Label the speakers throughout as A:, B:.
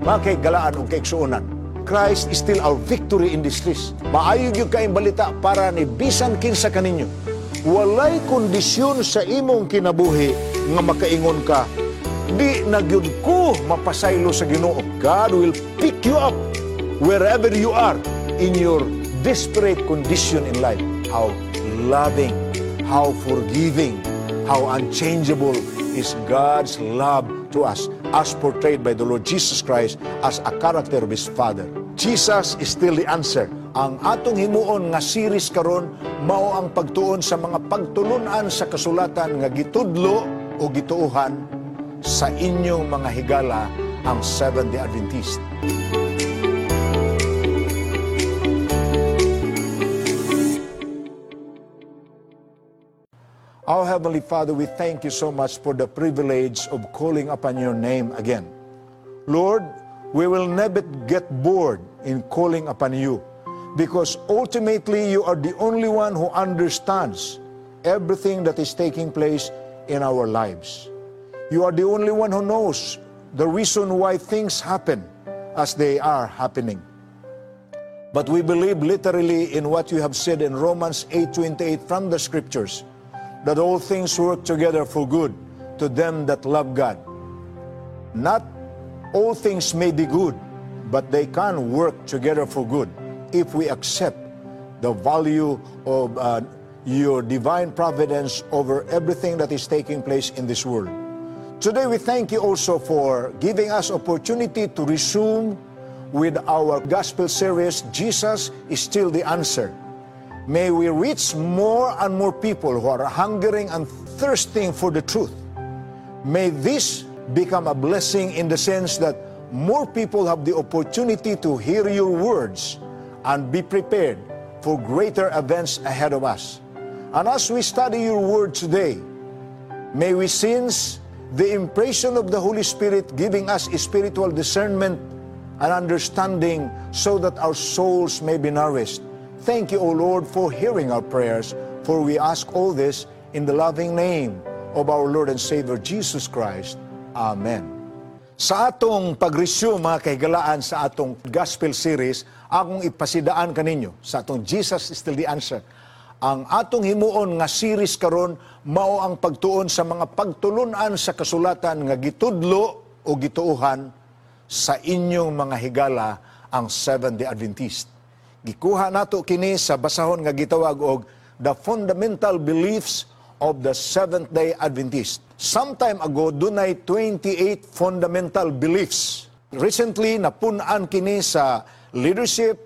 A: Mga kahigalaan ug kaigsuonan, Christ is still our victory in distress. Maayo gyud kaayong balita para ni bisan kinsa kaninyo. Walay kondisyon sa imong kinabuhi nga makaingon ka, "Di na gyud ko mapasaylo sa Ginoo." God will pick you up wherever you are in your desperate condition in life. How loving, how forgiving, how unchangeable is God's love to us as portrayed by the Lord Jesus Christ as a character of His Father. Jesus is still the answer. Ang atong himuon nga series karon mao ang pagtuon sa mga pagtulunan sa kasulatan nga gitudlo o gituohan sa inyong mga higala, ang Seventh-day Adventist. Our Heavenly Father, we thank you so much for the privilege of calling upon your name again. Lord, we will never get bored in calling upon you because ultimately you are the only one who understands everything that is taking place in our lives. You are the only one who knows the reason why things happen as they are happening. But we believe literally in what you have said in Romans 8:28 from the scriptures, that all things work together for good to them that love God. Not all things may be good, but they can work together for good if we accept the value of your divine providence over everything that is taking place in this world. Today we thank you also for giving us opportunity to resume with our gospel series, Jesus is Still the Answer. May we reach more and more people who are hungering and thirsting for the truth. May this become a blessing in the sense that more people have the opportunity to hear your words and be prepared for greater events ahead of us. And as we study your word today, may we sense the impression of the Holy Spirit giving us a spiritual discernment and understanding so that our souls may be nourished. Thank you, O Lord, for hearing our prayers, for we ask all this in the loving name of our Lord and Savior Jesus Christ. Amen. Sa atong pag-resume, mga kahigalaan, sa atong gospel series, akong ipasidaan kaninyo sa atong Jesus is Still the Answer. Ang atong himuon nga series karon mao ang pagtuon sa mga pagtulunan sa kasulatan nga gitudlo o gituohan sa inyong mga higala, ang Seventh-day Adventist. Gikuha nato kini sa basahon nga gitawag og The Fundamental Beliefs of the Seventh-day Adventist. Some time ago, dunay 28 fundamental beliefs. Recently, napun-an kini sa leadership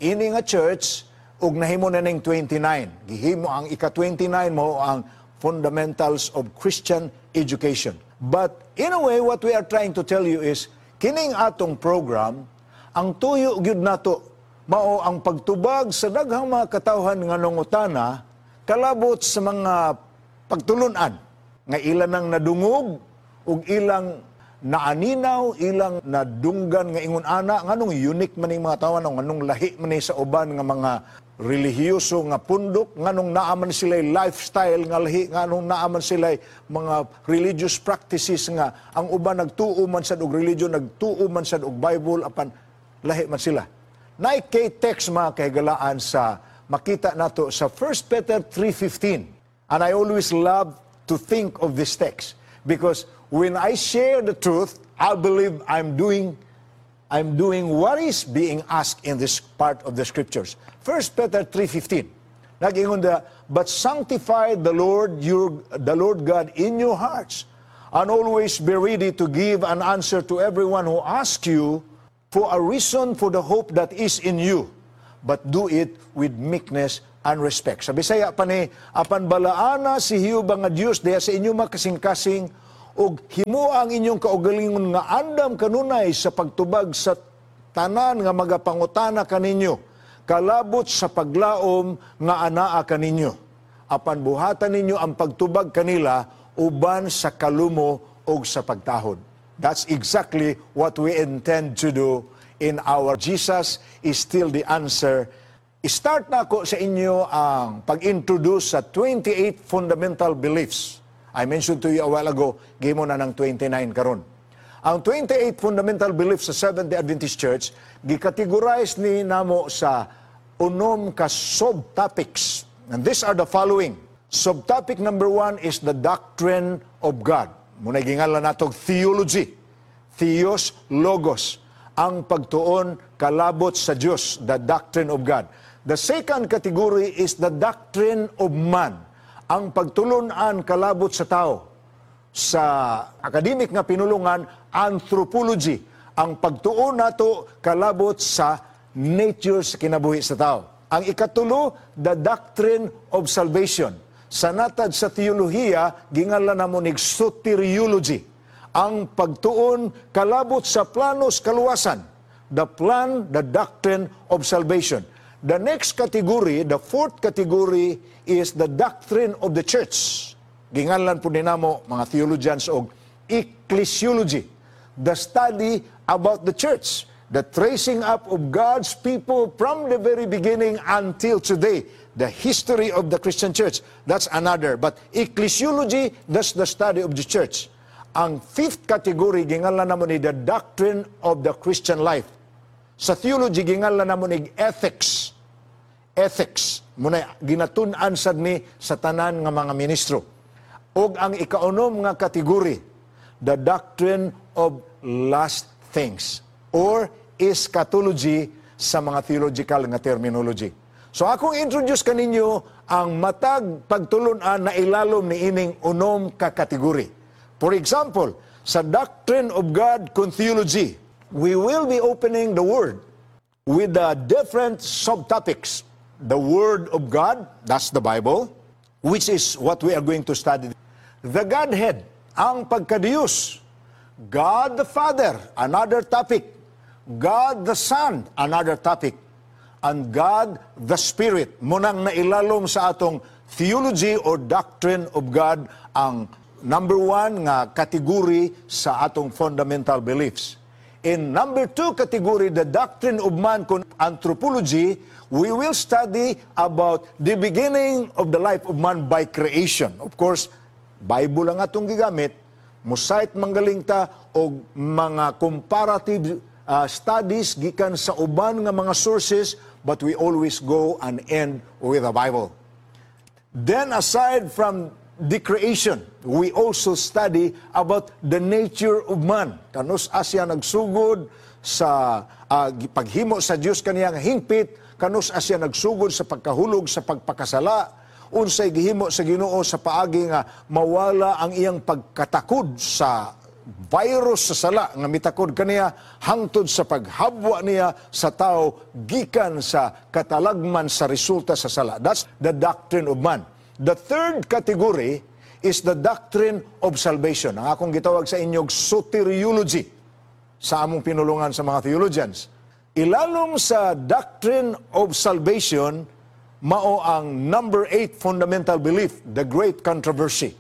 A: ini nga church ug nahimo na ning 29. Gihimo ang ika-29 mao ang Fundamentals of Christian Education. But in a way, what we are trying to tell you is, kining atong program, ang tuyo gyud nato mao ang pagtubag sa daghang mga katawhan nga nangutana kalabot sa mga pagtulunan nga ilan nang nadungog ug ilang naaninaw, ilang nadunggan nga ingon ana, nganong unique man ning mga tawo, nganong lahi man ni sa uban nga mga relihiyoso nga pundok, nganong naa man sila lifestyle nga lahi, nganong naa man sila mga religious practices nga ang uban nagtuo man sad og religion, nagtuo man sad og Bible, apan lahi man sila. Naay text, mga kahigalaan, sa makita nato sa 1 Peter 3:15. And I always love to think of this text because when I share the truth, I believe I'm doing what is being asked in this part of the scriptures. 1 Peter 3:15. Nag-ingon da, "But sanctify the Lord God in your hearts, and always be ready to give an answer to everyone who asks you for a reason for the hope that is in you, but do it with meekness and respect." Sa Bisaya pa ni, "Apan balaana si Jehova nga Dios diha sa inyong mga kasing-kasing ug himoa ang inyong kaugalingon nga andam kanunay sa pagtubag sa tanan nga magapangutana kaninyo kalabot sa paglaom nga anaa kaninyo. Apan buhatan ninyo ang pagtubag kanila uban sa kalumo ug sa pagtahod." That's exactly what we intend to do in our Jesus is Still the Answer. Start na ako sa inyo ang pag-introduce sa 28 fundamental beliefs. I mentioned to you a while ago, gihimo na ng 29 karon. Ang 28 fundamental beliefs sa Seventh-day Adventist Church gikategorize ni namo sa unom ka subtopics. And these are the following. Subtopic number 1 is the doctrine of God. Muna gingalan nato theology. Theos, logos. Ang pagtuon kalabot sa Dios, the doctrine of God. The second category is the doctrine of man. Ang pagtulunan kalabot sa tao. Sa academic nga pinulungan, anthropology. Ang pagtuon nato kalabot sa nature sa kinabuhi sa tao. Ang ikatulo, the doctrine of salvation. Sa natad sa teolohiya, gingalan namo nig soteriology. Ang pagtuon kalabot sa planos kaluwasan. The plan, the doctrine of salvation. The next category, the fourth category, is the doctrine of the church. Gingalan po namo mga theologians og ecclesiology, the study about the church, the tracing up of God's people from the very beginning until today, the history of the Christian church. That's another. But ecclesiology, that's the study of the church. Ang fifth category, gingalan namo ni the doctrine of the Christian life. Sa theology, gingalan namo ni ethics. Ethics. Muna ginatun-an sad ni sa tanan nga mga ministro. Og ang ikaunom nga kategory, the doctrine of last things or eschatology sa mga theological nga terminology. So akong introduce kaninyo ang matag pagtulunan na ilalom ni ining unom ka kategory. For example, sa doctrine of God kun theology, we will be opening the Word with the different subtopics. The Word of God, that's the Bible, which is what we are going to study. The Godhead, ang pagkadiyos. God the Father, another topic. God the Son, another topic. And God the Spirit, munang nailalom sa atong theology or doctrine of God ang number 1 nga category sa atong fundamental beliefs. In number 2 category, the doctrine of man kun anthropology, we will study about the beginning of the life of man by creation. Of course, Bible ang atong gigamit, mo-cite manggaling ta og mga comparative studies gikan sa uban nga mga sources, but we always go and end with the Bible. Then aside from the creation, we also study about the nature of man. Kanus siya nagsugod sa paghimo sa Dios kaniyang hingpit, kanus siya nagsugod sa pagkahulog sa pagpakasala, unsay gihimo sa Ginoo sa paagi nga mawala ang iyang pagkatakod sa virus sa sala nga mitakod kaniya hangtod sa paghabwa niya sa tao gikan sa katalagman sa resulta sa sala. That's the doctrine of man. The third category is the doctrine of salvation. Ang akong gitawag sa inyong soteriology sa among pinulungan sa mga theologians. Ilalom sa doctrine of salvation, mao ang number 8 fundamental belief, the great controversy.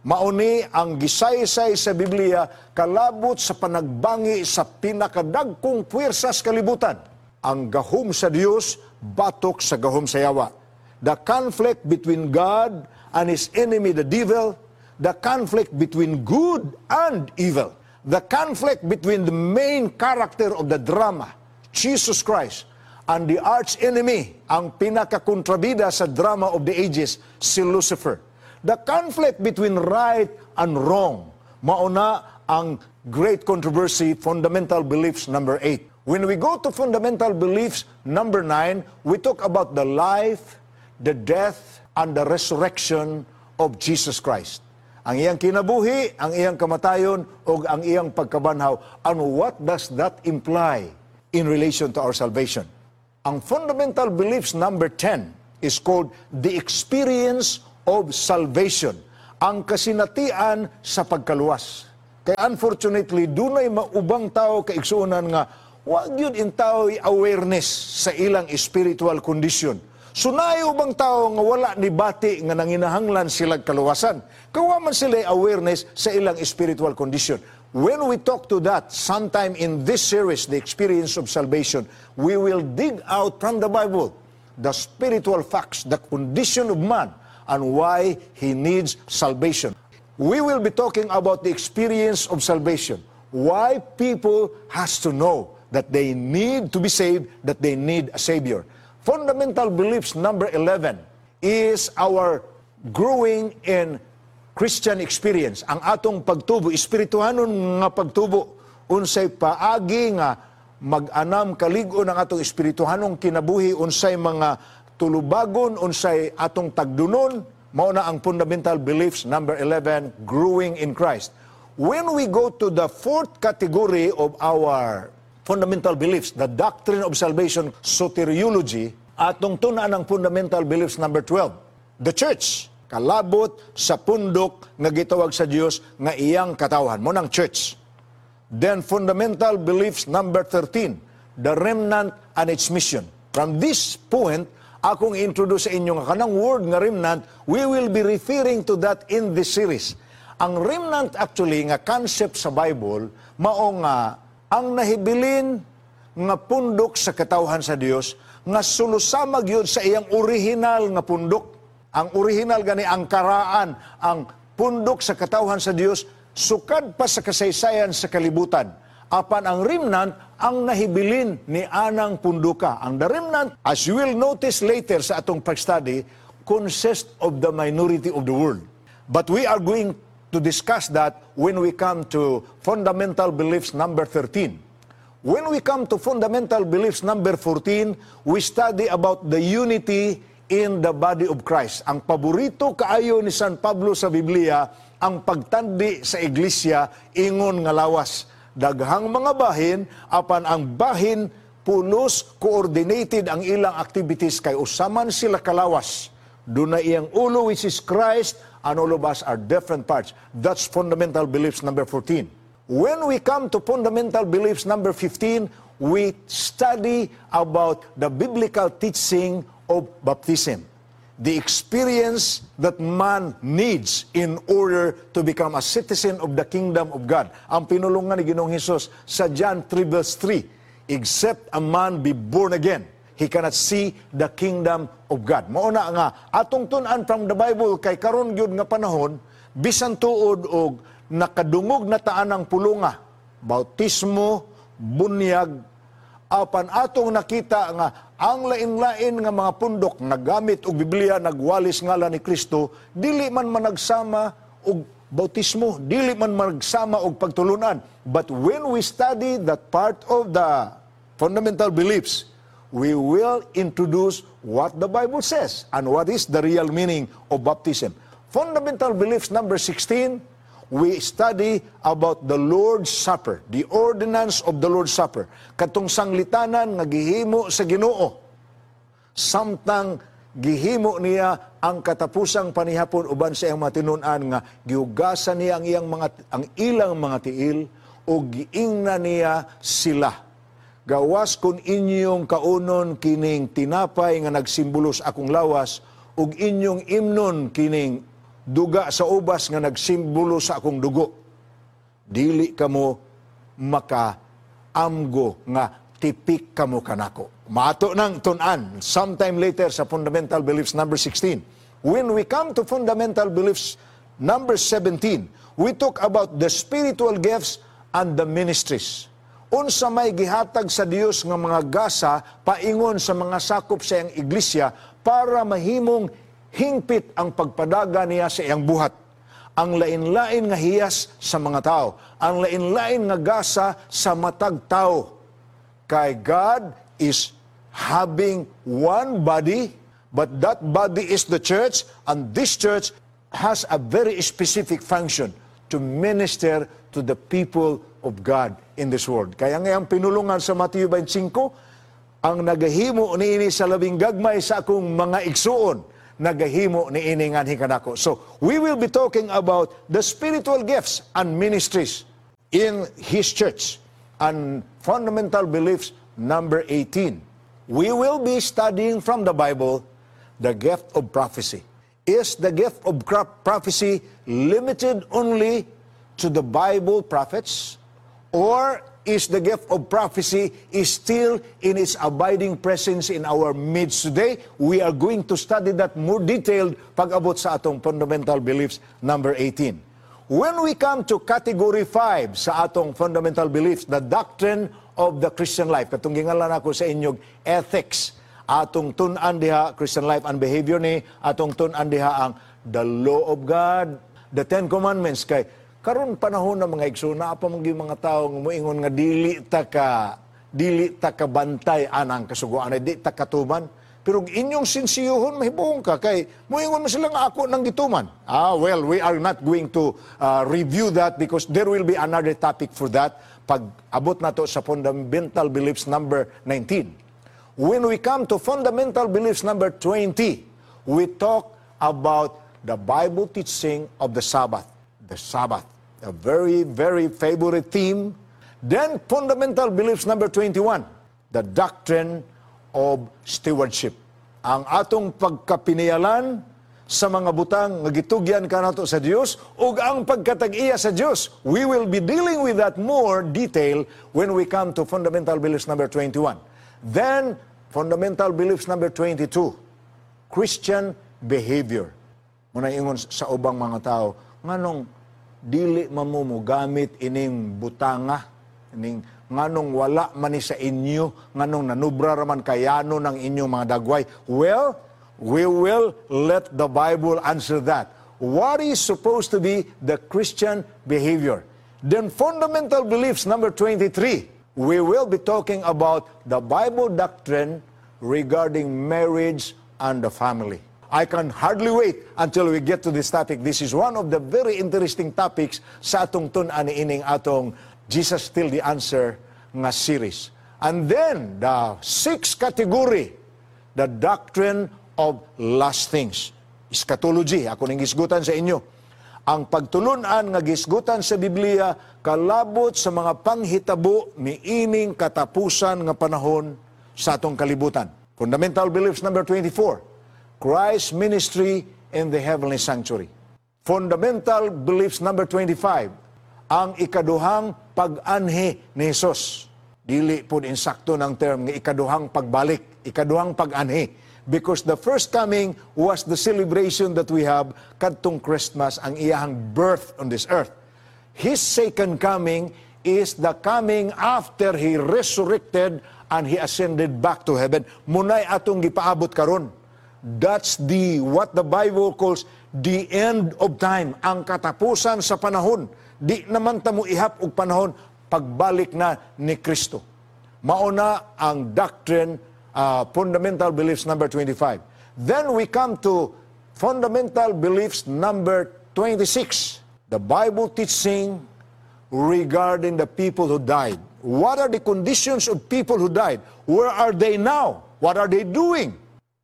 A: Mao ni ang gisaysay sa Biblia kalabot sa panagbangi sa pinakadagkong puwersas kalibutan. Ang gahom sa Dios batok sa gahom sa yawa. The conflict between God and His enemy, the devil, the conflict between good and evil, the conflict between the main character of the drama, Jesus Christ, and the arch enemy, ang pinakakontrabida sa drama of the ages, si Lucifer. The conflict between right and wrong, mauna ang great controversy, fundamental beliefs number 8. When we go to fundamental beliefs number 9, we talk about the life, the death, and the resurrection of Jesus Christ. Ang iyang kinabuhi, ang iyang kamatayon, o ang iyang pagkabanhaw. And what does that imply in relation to our salvation? Ang fundamental beliefs number 10 is called the experience of salvation. Ang kasinatian sa pagkaluwas. Kaya unfortunately, dunay maubang tao kaigsuonan nga wa gyud in tao awareness sa ilang spiritual condition. So naay ubang tao nga wala ni bati nga nanginahanglan sila kaluwasan. Kawa man sila awareness sa ilang spiritual condition. When we talk to that, sometime in this series, The Experience of Salvation, we will dig out from the Bible the spiritual facts, the condition of man, and why he needs salvation. We will be talking about the experience of salvation. Why people has to know that they need to be saved, that they need a Savior. Fundamental beliefs number 11 is our growing in Christian experience. Ang atong pagtubo, espirituhanon nga pagtubo, unsay paagi nga mag-anam kalig-on ang atong espirituhanong kinabuhi, unsay mga tulubagon, unsay atong tagdunon, mao na ang fundamental beliefs number 11, growing in Christ. When we go to the fourth category of our fundamental beliefs, the doctrine of salvation, soteriology, atong tun-an ang fundamental beliefs number 12, the church, kalabot sa pundok nga gitawag sa Dios nga iyang katawhan. Mao nang church. Then fundamental beliefs number 13, the remnant and its mission. From this point, akong introduce sa inyo nga kanang word nga remnant, we will be referring to that in this series. Ang remnant actually nga concept sa Bible, mao nga ang nahibilin nga pundok sa katawhan sa Dios nga sulosamag yun sa iyang original nga pundok. Ang original gani ang karaan, ang pundok sa katawhan sa Dios sukad pa sa kasaysayan sa kalibutan. Apan ang remnant ang nahibilin ni anang punduka. Ang the remnant, as you will notice later sa atong pag-study, consists of the minority of the world. But we are going to discuss that when we come to fundamental beliefs number 13. When we come to fundamental beliefs number 14, we study about the unity in the body of Christ. Ang paborito kaayo ni San Pablo sa Biblia, ang pagtandi sa iglesia ingon nga lawas. Daghang mga bahin, apan ang bahin pulos coordinated ang ilang activities kay usa man sila kalawas. Duna iyang ulo, which is Christ, and all of us are different parts. That's fundamental beliefs number 14. When we come to fundamental beliefs number 15, we study about the biblical teaching of baptism. The experience that man needs in order to become a citizen of the kingdom of God. Ang pinulungan ni Ginoong Hesus sa John 3 verse 3, "Except a man be born again, he cannot see the kingdom of God." Mao na nga atong tun-an from the Bible kay karon gyud nga panahon, bisan tuod og nakadungog na ta anang pulunga, bautismo, bunyag, apan atong nakita nga ang lain-lain nga mga pundok nga gamit og Biblia nagwalis ngalan ni Kristo, dili man managsama og bautismo, dili man managsama og pagtulunan. But when we study that part of the fundamental beliefs, we will introduce what the Bible says and what is the real meaning of baptism. Fundamental beliefs number 16, we study about the Lord's Supper, the ordinance of the Lord's Supper. Katong sanglitanan nga gihimo sa Ginoo. Samtang gihimo niya ang katapusang panihapon uban sa iyang mga tinun-an nga gihugasan niya ang ilang mga tiil o giingna niya sila. "Gawas kung inyong kaunon kining tinapay nga nagsimbolo sa akong lawas ug inyong imnon kining duga sa ubas nga nagsimbolo sa akong dugo, dili kamo makaamgo nga tipik kamo kanako." Maato nang tun-an sometime later sa fundamental beliefs number 16. When we come to fundamental beliefs number 17, we talk about the spiritual gifts and the ministries. Unsa may gihatag sa Dios nga mga gasa paingon sa mga sakop sa iyang iglesia para mahimong hingpit ang pagpadaga niya sa iyang buhat. Ang lain-lain nga hiyas sa mga tao, ang lain-lain nga gasa sa matag tao. Kay God is having one body, but that body is the church, and this church has a very specific function to minister to the people of God in this world. Kaya nga ang pinulungan sa Mateo 25, "Ang nagahimo niini sa labing gagmay sa akong mga igsuon, nagahimo niini nganhi kanako." So, we will be talking about the spiritual gifts and ministries in His church. And fundamental beliefs number 18. We will be studying from the Bible the gift of prophecy. Is the gift of prophecy limited only to the Bible prophets? Or is the gift of prophecy is still in its abiding presence in our midst today? We are going to study that more detailed pag-abot sa atong fundamental beliefs number 18. When we come to category 5 sa atong fundamental beliefs, the doctrine of the Christian life, katong gingalan ako sa inyong ethics, atong tun-an diha Christian life and behavior ni, atong tun-an diha ang the law of God, the Ten Commandments. Kay karon panahon na, mga igsoon, naa pa man gyud mga tawo nga moingon nga dili ta ka bantay anang kasuguan, di ta katuman. Pero inyong sinsiyuhon, mahibuong ka kay moingon man sila nga ako nang gituman. Ah, well, we are not going to review that because there will be another topic for that pag abot nato sa fundamental beliefs number 19. When we come to fundamental beliefs number 20, we talk about the Bible teaching of the Sabbath. The Sabbath, a very, very favorite theme. Then fundamental beliefs number 21, the doctrine of stewardship. Ang atong pagkapinialan sa mga butang nga gitugyan kanato sa Dios ug ang pagkatag-iya sa Dios. We will be dealing with that more detail when we come to fundamental beliefs number 21. Then fundamental beliefs number 22, Christian behavior. Muna ingon sa ubang mga tao, nganong dili man mo mogamit ining butanga, ining nganong wala man ni sa inyo, nganong nanubra raman kayano ng inyong mga dagway? Well, we will let the Bible answer that. What is supposed to be the Christian behavior? Then fundamental beliefs number 23, we will be talking about the Bible doctrine regarding marriage and the family. I can hardly wait until we get to this topic. This is one of the very interesting topics sa atong tun-an ining atong Jesus Still the Answer nga series. And then, the sixth category, the doctrine of last things. Eschatology, ako ning gisgutan sa inyo. Ang pagtulunan nga gisgutan sa Biblia kalabot sa mga panghitabo ni ining katapusan nga panahon sa atong kalibutan. Fundamental beliefs number 24, Christ's ministry in the heavenly sanctuary. Fundamental beliefs number 25, ang ikaduhang pag-anhi ni Jesus. Dili po insakto ng term nga ikaduhang pagbalik, ikaduhang pag-anhi. Because the first coming was the celebration that we have kadtong Christmas, ang iyahang birth on this earth. His second coming is the coming after He resurrected and He ascended back to heaven. Munay atong gipaabot karon. That's the what the Bible calls the end of time, ang katapusan sa panahon. Di naman ta mo ihap og panahon pagbalik na ni Kristo. Mauna ang doctrine, fundamental beliefs number 25. Then we come to fundamental beliefs number 26. The Bible teaching regarding the people who died. What are the conditions of people who died? Where are they now? What are they doing?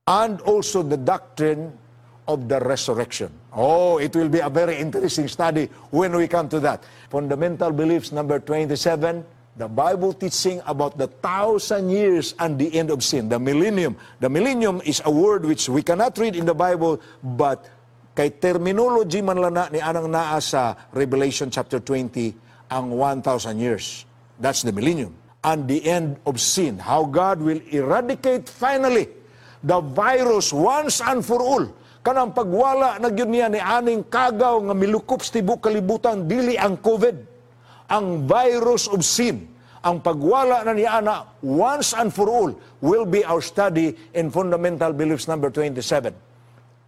A: And also the doctrine of the resurrection. Oh, it will be a very interesting study when we come to that. Fundamental beliefs number 27, the Bible teaching about the 1,000 years and the end of sin, the millennium. The millennium is a word which we cannot read in the Bible, but kay terminology man lang na ni anang naa sa Revelation chapter 20, ang 1,000 years. That's the millennium. And the end of sin. How God will eradicate finally the virus once and for all. Kanang pagwala na gyud niya ni aning kagaw nga milukop sa tibok kalibutan, dili ang COVID. Ang virus of sin. Ang pagwala na niya ana once and for all will be our study in fundamental beliefs number 27.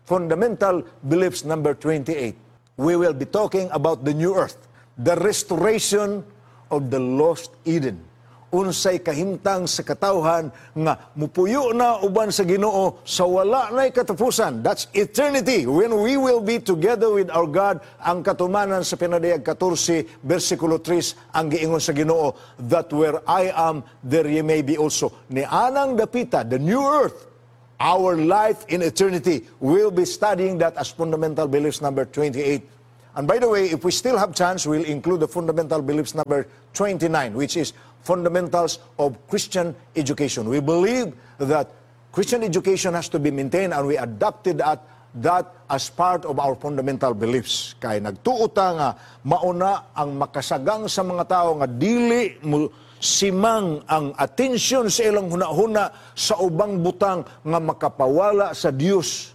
A: Fundamental beliefs number 28. We will be talking about the new earth, the restoration of the lost Eden. Unsay kahimtang sa katawhan nga mupuyo na uban sa Ginoo sa wala na'y katapusan. That's eternity when we will be together with our God. Ang katumanan sa Pinadayag 14 versikulo 3, ang giingon sa Ginoo that where I am, there ye may be also. Ni anang dapita, the new earth, our life in eternity. We'll be studying that as fundamental beliefs number 28. And by the way, if we still have chance, we'll include the fundamental beliefs number 29, which is fundamentals of Christian education. We believe that Christian education has to be maintained and we adopted that as part of our fundamental beliefs. Kay nagtuo ta nga mauna ang makasagang sa mga tao nga dili mo simang ang atensyon sa ilang hunahuna sa ubang butang nga makapawala sa Dios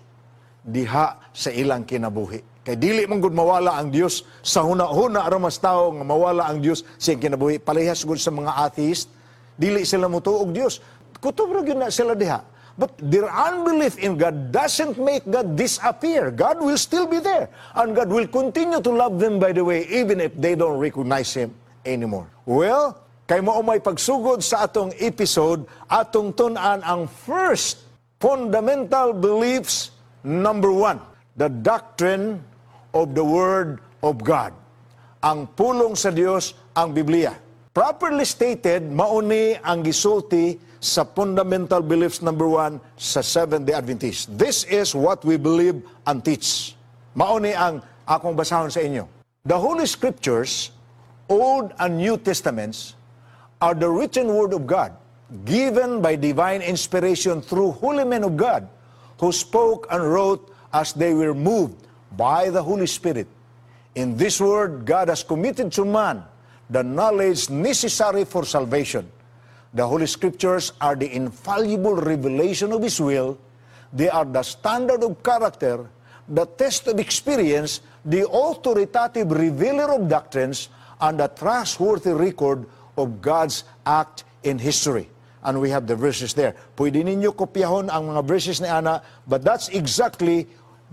A: diha sa ilang kinabuhi. Kay dili man gud mawala ang Dios sa huna-huna ra mas tao nga mawala ang Dios sa iyang kinabuhi. Parehas gud sa mga atheist, dili sila motuo og Dios. Kutob ra gyud na sila diha. But their unbelief in God doesn't make God disappear. God will still be there. And God will continue to love them, by the way, even if they don't recognize Him anymore. Well, kay mao may pagsugod sa atong episode, atong tun-an ang first fundamental beliefs number one, the doctrine of the Word of God. Ang pulong sa Dios, ang Biblia. Properly stated, mao ni ang gisulti sa fundamental beliefs number one sa Seventh-day Adventist. This is what we believe and teach. Mao ni ang akong basahon sa inyo. The Holy Scriptures, Old and New Testaments, are the written Word of God, given by divine inspiration through holy men of God, who spoke and wrote as they were moved by the Holy Spirit. In this word, God has committed to man the knowledge necessary for salvation. The Holy Scriptures are the infallible revelation of His will. They are the standard of character, the test of experience, the authoritative revealer of doctrines, and the trustworthy record of God's act in history. And we have the verses there. Pwede ninyo kopyahon ang mga verses ni ana, but that's exactly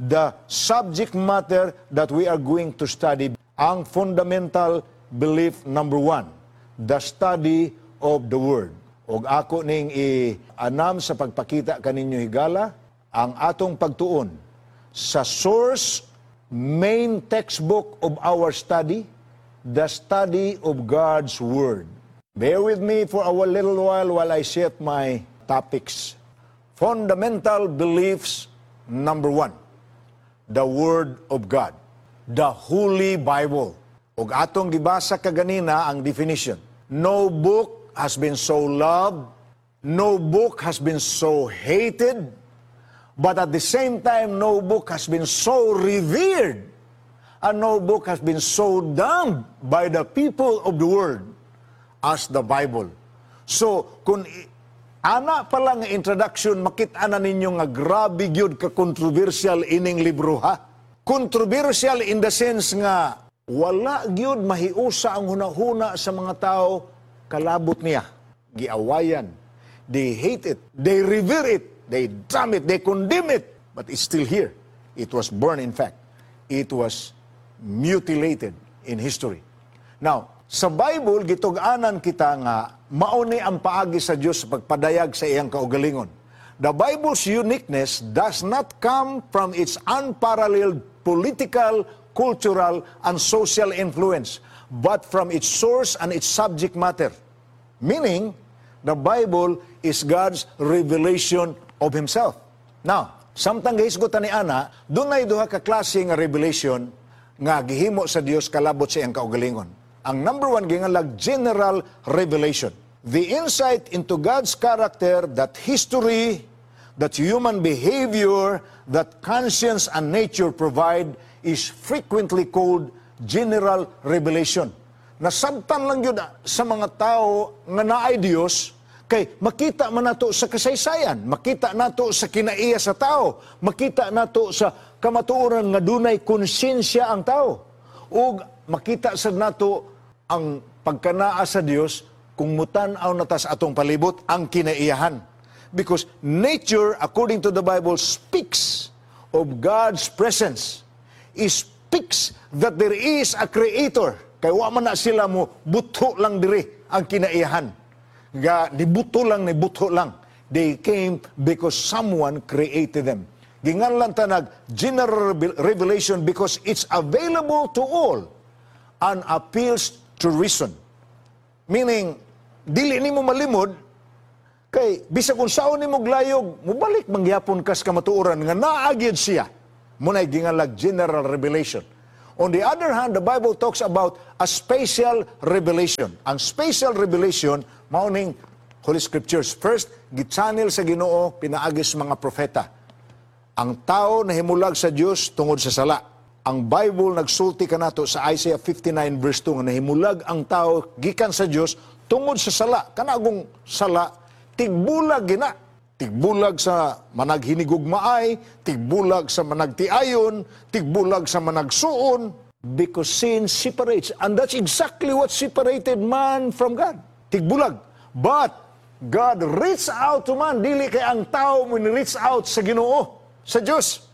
A: the subject matter that we are going to study. Ang fundamental belief number one, the study of the Word. Og ako ning i-anam sa pagpakita kaninyo higala, ang atong pagtuon sa source, main textbook of our study, the study of God's Word. Bear with me for a little while I set my topics. Fundamental beliefs number one, the Word of God, the Holy Bible. Ug atong gibasa kaganina ang definition. No book has been so loved, no book has been so hated, but at the same time, no book has been so revered, and no book has been so damned by the people of the world as the Bible. So, kung ana pa lang nga introduction, makita na ninyo nga grabe gyud ka controversial ining libro, ha. Controversial in the sense nga wala gyud mahiusa ang hunahuna sa mga tao kalabot niya. Giawayan. They hate it. They revere it. They damn it. They condemn it. But it's still here. It was burned, in fact. It was mutilated in history. Now, sa Bible, gitug-anan kita nga mao ni ang paagi sa Dios sa pagpadayag sa iyang kaugalingon. The Bible's uniqueness does not come from its unparalleled political, cultural, and social influence, but from its source and its subject matter. Meaning, the Bible is God's revelation of Himself. Now, samtang gihisgutan ni ana, dunay duha ka klase nga revelation nga gihimo sa Dios kalabot sa iyang kaugalingon. Ang number one, gingalag general revelation. The insight into God's character that history, that human behavior, that conscience and nature provide is frequently called general revelation. Nasabtan lang yun sa mga tao nga naay Dios kay makita man nato sa kasaysayan, makita nato sa kinaiya sa tao, makita nato sa kamatuoran nga dunay konsensya ang tao. Ug makita sad nato ang pagkanaa sa Dios kung mutan-aw na ta sa atong palibot, ang kinaiyahan. Because nature, according to the Bible, speaks of God's presence. It speaks that there is a creator. Kay wa man na sila mo buto lang diri ang kinaiyahan. Ga nibuto lang, nibuto lang. They came because someone created them. Ginganlan ta nag general revelation because it's available to all and appeals to reason. Meaning, dili nimo malimod kay bisag unsaon nimo glayog, mubalik man gyapon kas kamatuoran nga naa gyud siya. Mao nay gingalag general revelation. On the other hand, the Bible talks about a special revelation. Ang special revelation mao ning Holy Scriptures. First, gi-channel sa Ginoo pinaagi sa mga propeta. Ang tao nahimulag sa Dios tungod sa sala. Ang Bible nagsulti kanato sa Isaiah 59 verse 2 nga nahimulag ang tao gikan sa Dios tungod sa sala. Kanagong sala, tigbulag gina. Tigbulag sa managhinigugmaay, tigbulag sa managtiayon, tigbulag sa managsuon, because sin separates. And that's exactly what separated man from God. Tigbulag. But God reached out to man. Dili kay ang tao mo ni-reach out sa Ginoo, sa Diyos.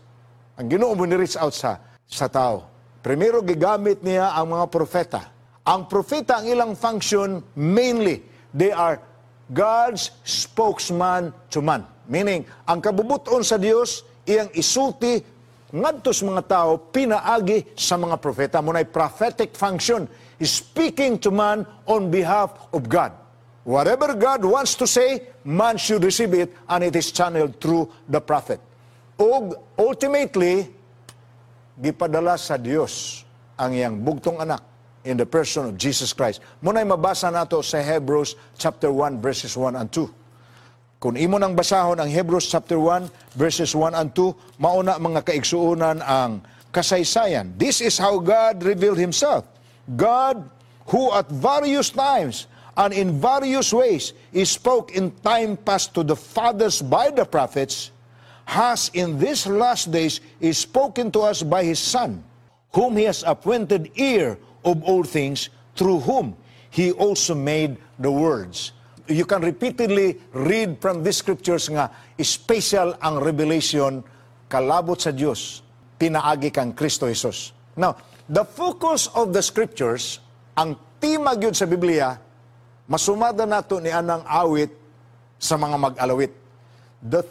A: Ang Ginoo mo ni-reach out sa tao. Primero, gigamit niya ang mga propeta. Ang propeta, ang ilang function, mainly, they are God's spokesman to man. Meaning, ang kabubuton sa Dios iyang isulti ngadto sa mga tao pinaagi sa mga propeta. Mao nay prophetic function, speaking to man on behalf of God. Whatever God wants to say, man should receive it, and it is channeled through the prophet. Ug ultimately, gipadala sa Dios ang iyang bugtong anak in the person of Jesus Christ. Mao nay mabasa nato sa Hebrews chapter 1 verses 1 and 2. Kung imo nang basahon ang Hebrews chapter 1 verses 1 and 2, mao na, mga kaigsuonan, ang kasaysayan. This is how God revealed Himself. God, who at various times and in various ways He spoke in time past to the fathers by the prophets, has in these last days spoken to us by His Son, whom He has appointed heir of all things, through whom He also made the worlds. You can repeatedly read from these scriptures nga special ang revelation kalabot sa Dios pinaagi kang Kristo Jesus. Now, the focus of the scriptures, ang tema gyud sa Biblia, masumada nato ni anang awit sa mga mag-alawit. The